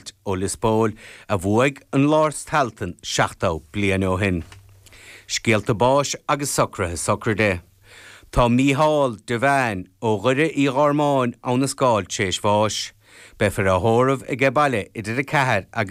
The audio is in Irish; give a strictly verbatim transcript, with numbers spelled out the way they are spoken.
ó Lios Póil a bhuaigh an Lord Tailteann seachtó bliain ó shin. Scéalta báis agus socruithe sochraide. Tá Mícheál de Bhean ó Dhoire Uí Ghormáin ann a scáil tar éis bháis. Beifear á thórramh aige baile idir a ceathair agus